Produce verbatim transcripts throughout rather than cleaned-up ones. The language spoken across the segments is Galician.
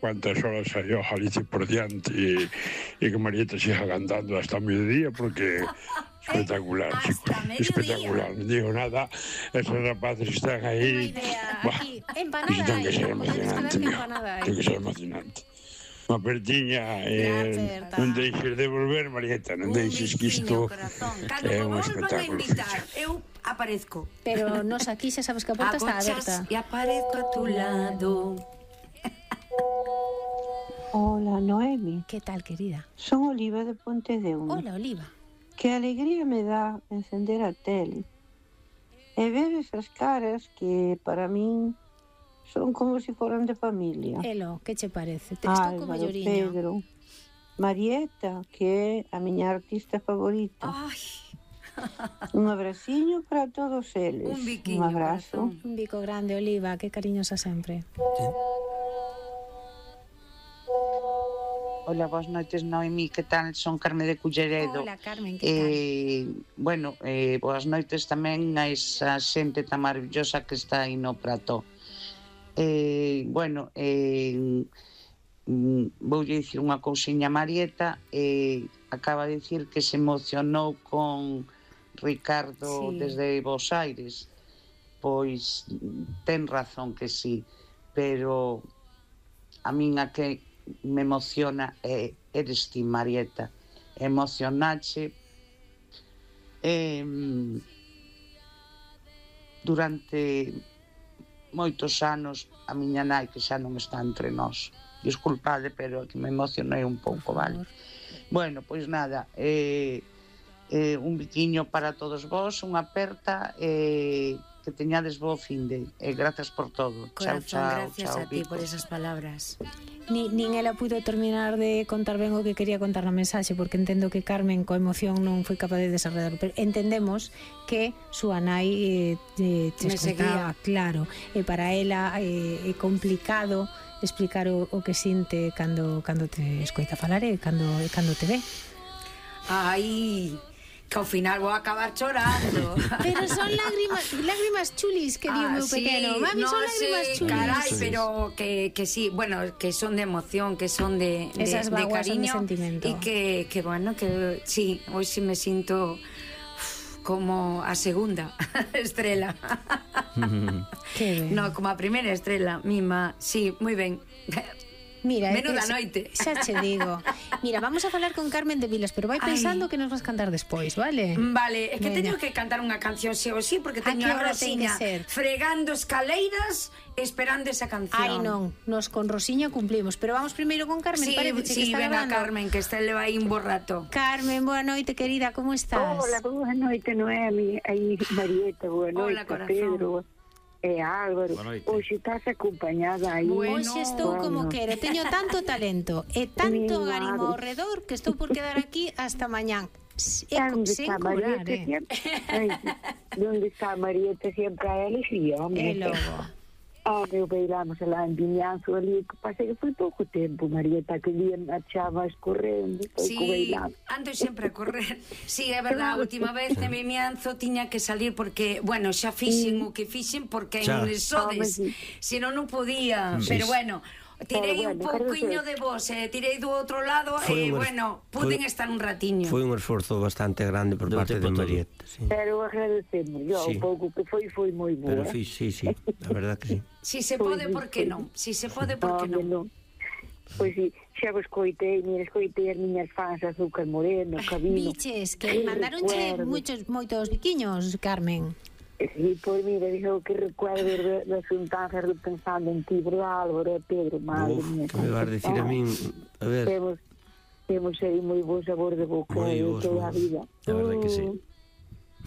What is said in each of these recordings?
cuántas horas salió Galicia por diante y, y que Marieta siga cantando hasta mediodía porque espectacular, hasta chicos, mediodía. espectacular, no digo nada, esos rapaces están ahí, aquí, empanada tiene que ser emocionante, tiene que ser emocionante. Unha apertiña, eh, non deixes de volver, Marieta, non deixes que isto é un espectáculo. Eu aparezco. Pero nos aquí xa sabes que a porta está aberta. E aparezco a tu lado. Hola, Noemi. Que tal, querida? Son Oliva de Pontedeume. Hola, Oliva. Que alegría me dá encender a tele e ver esas caras que para min son como se si foran de familia. Elo, que che parece? Te estou como lloriño. Pedro, Marieta, que é a miña artista favorita. Ai. Un abraciño para todos eles. Un biquiño. Un abrazo. Un bico grande, Oliva, que cariñosa sempre. Hola, boas noites, Noemi, que tal? Son Carme de Culleredo. Hola, Carmen, que eh, tal? Bueno, eh, boas noites tamén a esa xente tan maravillosa que está aí no plató. Eh, bueno, eh, voulle dicir unha cousiña a Marieta, eh, acaba de dicir que se emocionou con Ricardo sí. Desde Bos Aires. Pois ten razón que sí, pero a min a que me emociona é eres ti, Marieta. Emocionache eh, durante moitos anos a miña nai que xa non está entre nós. Disculpade, pero que me emocionei un pouco, vale? Bueno, pois nada, eh, eh, un biquiño para todos vós, unha aperta, eh, que teñades bo finde, e eh, grazas por todo. Corazón, chao, chao, gracias chao, a ti Vico. por esas palabras. Ni, nin ela puido terminar de contar ben o que quería contar na mensaxe, porque entendo que Carmen coa emoción non foi capaz de desarrollar, pero entendemos que súa nai eh, eh, te escoitaba, claro, e para ela eh, é complicado explicar o, o que sinte cando, cando te escoita falar e cando, cando te ve. Ai, que ao final vou acabar chorando. Pero son lágrimas, lágrimas chulis, que dio ah, meu pequeno. Sí, Mami, no son lágrimas sé, chulis. Carai, pero que, que sí, bueno, que son de emoción, que son de, de, esas de cariño. Son de sentimiento. Y que, que bueno, que sí, hoy sí me siento uf, como a segunda estrela. Que ben. No, como a primeira estrela, mima, sí, moi ben. Mira, menuda es, noite. Xa che digo. Mira, vamos a falar con Carmen de Vilas, pero vai pensando Ay. que nos vas cantar despois, vale? Vale, é que Venga. teño que cantar unha canción sí ou sí, porque teño a, a Rosiña fregando escaleiras esperando esa canción. Ai, non, nos con Rosiña cumplimos, pero vamos primeiro con Carmen, sí, parece sí, que está venga, grabando. Carmen, que este leva aí un borrato. Carmen, boa noite, querida, como estás? Hola, boa noite, Noemi, aí Marieta, boa noite, Hola, corazón. Pedro. E Álvaro, hoxe estás acompañada aí. Bueno, hoxe estou como quero, teño tanto talento e tanto garimo ao redor que estou por quedar aquí hasta mañán. E sen curar, eh? Ai, onde está Marieta sempre a alegría, hombre. E logo. Ah, meu beiramos lá en Vimianzo ali, que pasei que foi pouco tempo, Marieta, que día marchabas correndo, sí, ando sempre a correr. Sí, é verdade, a última vez en Vimianzo tiña que salir porque, bueno, xa fixen o que fixen porque en sodes, se non non podía, sí. Pero bueno, tirei bueno, un pouquiño de vos, eh, tirei do outro lado e, eh, bueno, puden foi, estar un ratiño. Foi un esforzo bastante grande por de parte de Marieta, sí. Pero agradecemos, yo, sí. Un pouco que foi, foi moi boa. Pero sí, sí, sí, a verdad que sí. Si se pode, por que non? Si se pode, por que non? Pois si, xa vos coitei, mira, coitei as miñas fans Azúcar Moreno, Cabino. Biches, que mandaronche moitos, moitos biquiños, Carmen. Sí, pois mira, dixo que recuerdo das xuntanzas pensando en ti, verdad, Álvaro e Pedro, madre mía. Que me vas dicir a min, a ver... Temos, temos aí moi bo sabor de boca de toda a vida. A verdade que sí.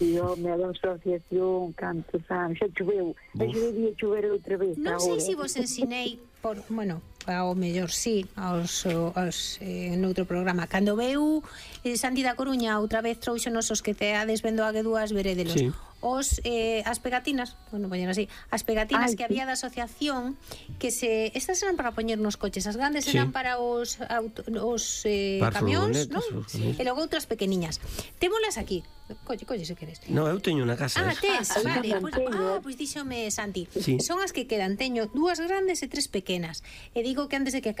E home, a asociación, cantos anos, xa choveu, xa debía chover outra vez. Non sei se vos ensinei, por, bueno, ao mellor sí, aos, aos eh, noutro programa. Cando veu eh, Santi da Coruña outra vez trouxo nosos que te ades vendo a que dúas verédelos. Sí. Os, eh, as pegatinas, bueno, poñen así, as pegatinas Ay, que había da asociación, que se, estas eran para poñer nos coches, as grandes sí. eran para os, auto, os eh, camións, non? E logo outras pequeniñas. Témolas aquí. Colle, colle, se queres. No, eu teño unha casa. Ah, tes, ah, vale. Pues, ah, pois pues díxome Santi. Sí. Son as que quedan. Teño dúas grandes e tres pequenas. E digo que antes de que acabe